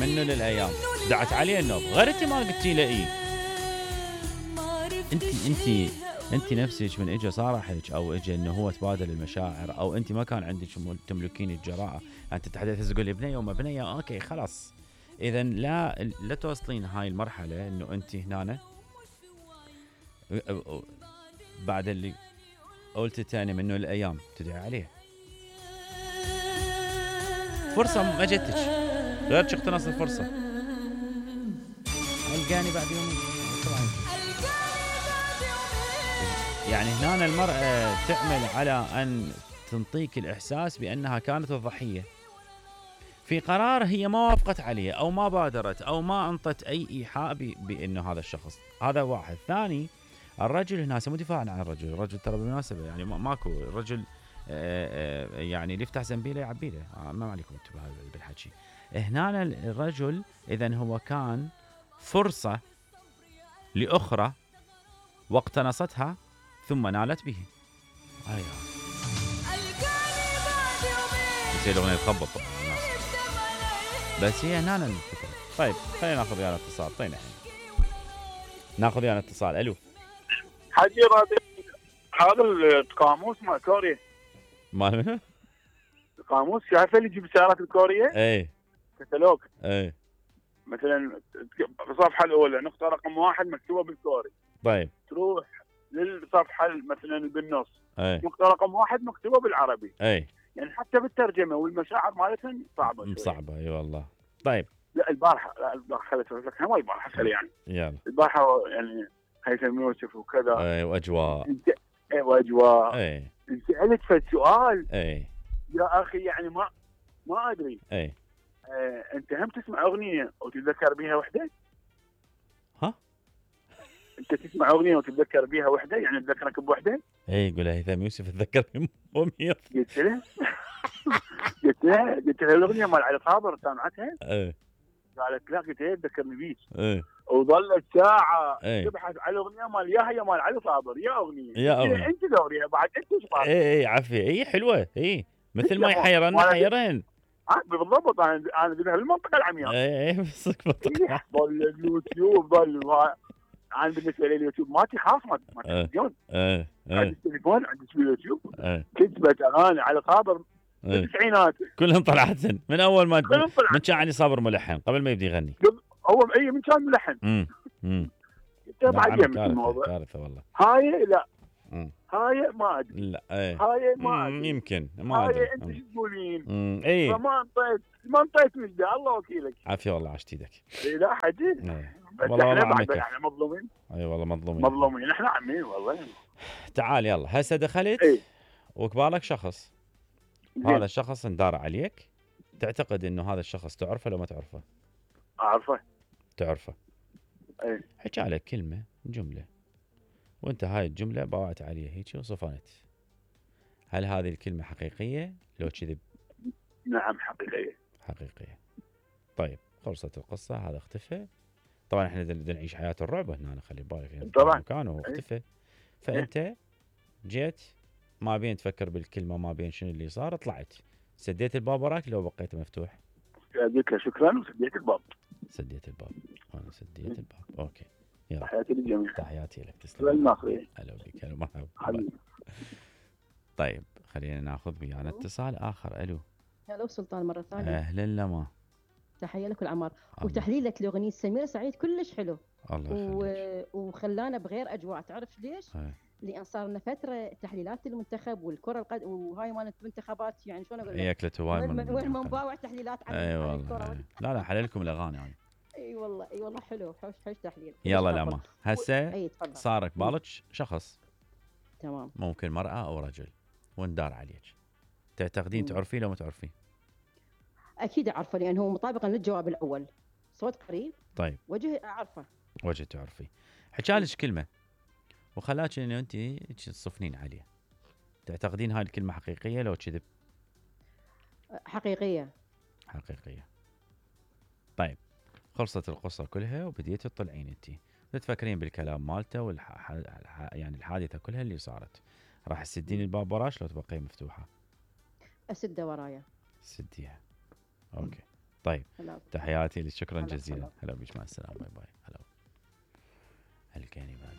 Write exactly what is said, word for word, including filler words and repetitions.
منه للايام دعت عليه النوب، غير انت ما قلتي له اي. انت انت انت نفسك من اجى صارحك او اجى انه هو تبادل المشاعر، او انت ما كان عندك تملكين الجراءه انت تتحدث تقول لي بنيه وما بنيه، اوكي خلاص. اذا لا لا توصلين هاي المرحله انه انت هنا بعد اللي قلت تاني منه الايام تدعي عليه. فرصه ما جتك غير تقتنص الفرصه. القاني بعد يومين طبعا. يعني هنا المرأة تعمل على أن تنطيك الإحساس بأنها كانت الضحية في قرار هي ما وافقت عليه أو ما بادرت أو ما أنطت أي إيحاء بأنه هذا الشخص. هذا واحد. ثاني، الرجل هنا مو دفاعا عن الرجل، الرجل ترى بالمناسبة يعني ماكو الرجل يعني اللي يفتح زنبيله يعبيله، ما عليكم انتم بالحكي. هنا الرجل إذن هو كان فرصة لأخرى واقتنصتها ثم نالت به. ايوه بس الاغنيه تخبط طبعا الناس، بس هي هنا الفكره. طيب خلينا ناخذ ويانا اتصال. طيب الحين ناخذ ويانا اتصال. الو حجي راضي، هذا القاموس مال كوريا مال منو؟ القاموس شايفه اللي يجيب السيارات الكوريه؟ اي كتالوج. اي مثلا الصفحه الاولى نقطه رقم واحد مكتوبه بالكوري. طيب تروح للصفحه مثلا بالنص اي نقطه رقم واحد مكتوبه بالعربي. اي يعني حتى بالترجمه والمشاعر مالتهم صعبه صعبه. اي والله. طيب لا البارحه لا البارحه خليت اقول لك ما البارحه يعني يلا البارحه يعني هيثم يوسف وكذا. اي واجواء. انت اي واجواء. اي انت سالت في السؤال. اي يا اخي يعني ما ما ادري. اي آه، انت هم تسمع اغنيه وتتذكر بيها وحده؟ ها؟ انت تسمع اغنيه وتتذكر بيها وحده يعني تذكرك بوحده؟ اي يقول هيثم يوسف تذكرني مية. قلت له قلت له قلت له الاغنيه مال علي صابر سامعتها؟ اي قالت لا. قلت له تذكرني بيك. اي وظلت ساعه ايه. تبحث على الاغنيه مال يا هي مال علي صابر. يا اغنيه يا اغنيه انت دوريها بعد انت ايش صار؟ اي اي عافيه. اي حلوه. اي مثل ما يحيرن حيرن. اه بالضبط. انا انا بهالمنطقه العمياء. اي اي بس منطقه ضل اليوتيوب ضل. انا بالنسبه لي اليوتيوب مالتي خاص ما تلفزيون. ايه عندي التليفون عندي اليوتيوب. ايه كتبت اغاني على صابر بالتسعينات كلهم طلعت من اول ما من كان علي صابر ملحن قبل ما يبدي يغني. هو اي من كان ملحن. امم امم بعدين الموضوع كارثه والله. هاي لا مم. هاي ما ادري. لا ايه هاي ما ادري. يمكن ما ادري. هاي انت شو تقولين؟ اي فما انطيت ما انطيت مجده. الله وكيلك. عافيه والله عشت ايدك. اي لا حجي. ايه. والله والله بعد احنا مظلومين. اي والله مظلومين مظلومين احنا عمين والله. تعال يلا هسه دخلت ايه. وقبالك شخص. زين. هذا الشخص اندار عليك، تعتقد انه هذا الشخص تعرفه لو ما تعرفه؟ اعرفه. تعرفه. ايه. حكى عليك كلمه جمله وانت هاي الجمله باوعت عليه هيك وصفنت. هل هذه الكلمه حقيقيه لو كذب؟ نعم حقيقيه. حقيقيه. طيب خلصت القصه. هذا اختفى. طبعا احنا بدنا نعيش حياه الرعب هنا نخلي بالك يعني طبعا مكانه هو اختفى. فانت جيت ما بين تفكر بالكلمه ما بين شنو اللي صار. طلعت سديت الباب وراك لو بقيته مفتوح؟ قلت له شكرا وسديت الباب. سديت الباب. انا سديت الباب. اوكي يلا. تحياتي للجميع. تحياتي لك. تسلم. الماخذين. هلا بك. هلا مرحبا. طيب خلينا ناخذ ويانا اتصال اخر. الو هلا سلطان مره ثانيه. اهلا لما. تحيه لك العمار. وتحليلك لاغنيه سمير سعيد كلش حلو. الله يخليك. و... وخلانا بغير اجواء. تعرف ليش؟ هي. لان صار لنا فتره تحليلات المنتخب والكره القدم وهاي مالت المنتخبات يعني شلون اقول لك؟ هي اكلت هواي من وين ما نباوع تحليلات عن اي والله. لا لا حللكم الاغاني يعني. اي والله اي والله حلو. حوش حوش تحليل. يلا لما هسه صار قبالك شخص. تمام. ممكن مرأة او رجل واندار عليك. تعتقدين تعرفيه لو ما تعرفيه؟ اكيد اعرفه لان هو مطابقا للجواب الاول. صوت قريب. طيب وجه اعرفه. وجه تعرفيه. حكالك كلمه وخلاك انه انت تصفنين عليه. تعتقدين هاي الكلمه حقيقيه لو كذب؟ حقيقيه. حقيقيه. طيب خلصت القصه كلها وبديتي تطلعين انت تتفكرين بالكلام مالته والح... يعني الحادثه كلها اللي صارت. راح تسدين الباب وراش لو تبقي مفتوحه؟ اسده ورايا. سديها. اوكي طيب هلا تحياتي لك، شكرا هلا جزيلا. هلا. هلا بيك، مع السلامه، باي باي. هلا. الكلمه